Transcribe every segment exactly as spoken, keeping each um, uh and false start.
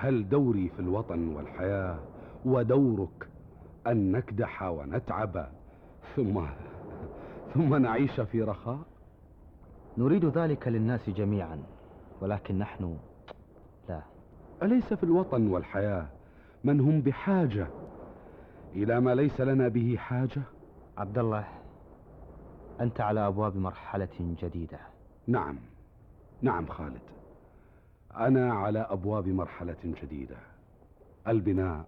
هل دوري في الوطن والحياة ودورك أن نكدح ونتعب ثم ثم نعيش في رخاء؟ نريد ذلك للناس جميعا، ولكن نحن لا. أليس في الوطن والحياة من هم بحاجة إلى ما ليس لنا به حاجة؟ عبد الله، أنت على أبواب مرحلة جديدة. نعم نعم خالد، أنا على أبواب مرحلة جديدة. البناء،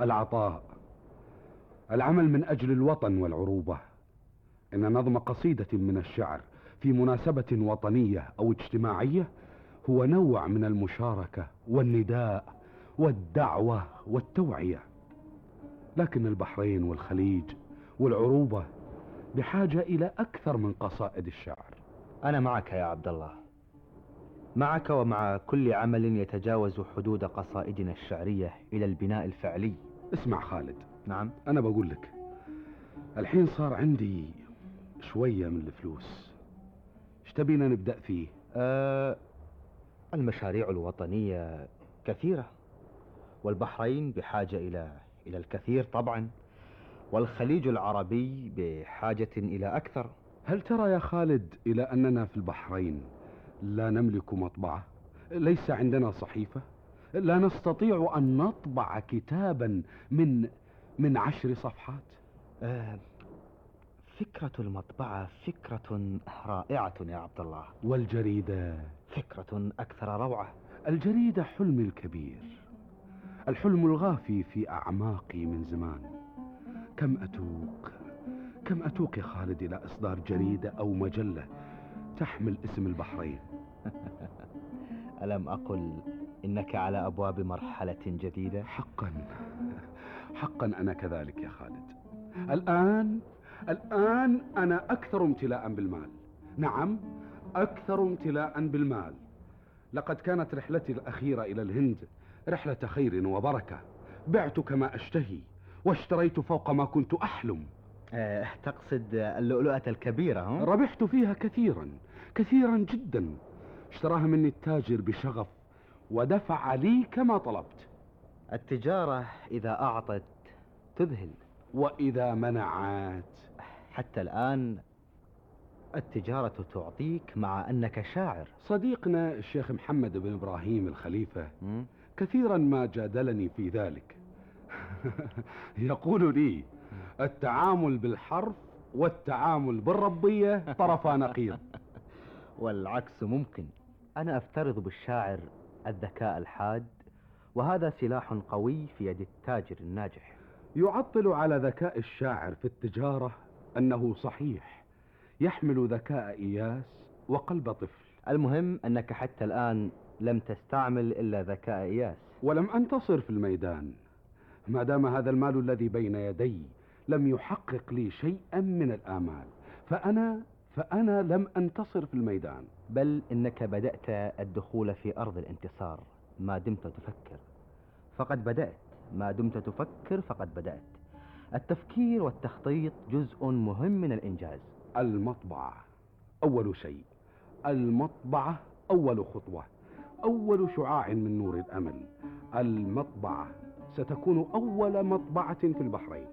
العطاء، العمل من أجل الوطن والعروبة. إن نظم قصيدة من الشعر في مناسبة وطنية أو اجتماعية هو نوع من المشاركة والنداء والدعوة والتوعية. لكن البحرين والخليج والعروبة بحاجة إلى أكثر من قصائد الشعر. أنا معك يا عبد الله، معك ومع كل عمل يتجاوز حدود قصائدنا الشعرية إلى البناء الفعلي. اسمع خالد. نعم. أنا بقول لك، الحين صار عندي شوية من الفلوس، ايش تبينا نبدأ فيه؟ أه المشاريع الوطنية كثيرة، والبحرين بحاجة إلى إلى الكثير طبعا، والخليج العربي بحاجة إلى أكثر. هل ترى يا خالد إلى أننا في البحرين لا نملك مطبعة؟ ليس عندنا صحيفة؟ لا نستطيع أن نطبع كتابا من من عشر صفحات؟ أه فكرة المطبعة فكرة رائعة يا عبد الله. والجريدة فكرة أكثر روعة. الجريدة حلمي الكبير، الحلم الغافي في أعماقي من زمان. كم أتوق كم أتوق يا خالد إلى إصدار جريدة أو مجلة تحمل اسم البحرين. ألم أقل إنك على أبواب مرحلة جديدة؟ حقا حقا أنا كذلك يا خالد. الآن الآن أنا أكثر امتلاء بالمال. نعم، أكثر امتلاء بالمال. لقد كانت رحلتي الأخيرة إلى الهند رحلة خير وبركة. بعت كما أشتهي واشتريت فوق ما كنت أحلم. أه تقصد اللؤلؤة الكبيرة؟ هم؟ ربحت فيها كثيرا كثيرا جدا. اشتراها مني التاجر بشغف ودفع لي كما طلبت. التجارة إذا أعطت تذهل، وإذا منعت. حتى الآن التجارة تعطيك مع أنك شاعر. صديقنا الشيخ محمد بن إبراهيم الخليفة م? كثيرا ما جادلني في ذلك. يقول لي التعامل بالحرف والتعامل بالربية طرفا نقيض. والعكس ممكن. أنا أفترض بالشاعر الذكاء الحاد، وهذا سلاح قوي في يد التاجر الناجح. يعطل على ذكاء الشاعر في التجارة أنه صحيح يحمل ذكاء إياس وقلب طفل. المهم أنك حتى الآن لم تستعمل إلا ذكاء إياس، ولم أنتصر في الميدان. ما دام هذا المال الذي بين يدي لم يحقق لي شيئا من الآمال، فأنا فأنا لم أنتصر في الميدان. بل إنك بدأت الدخول في أرض الانتصار ما دمت تفكر. فقد بدأت ما دمت تفكر فقد بدأت. التفكير والتخطيط جزء مهم من الإنجاز. المطبعة أول شيء، المطبعة أول خطوة، أول شعاع من نور الأمل. المطبعة ستكون أول مطبعة في البحرين.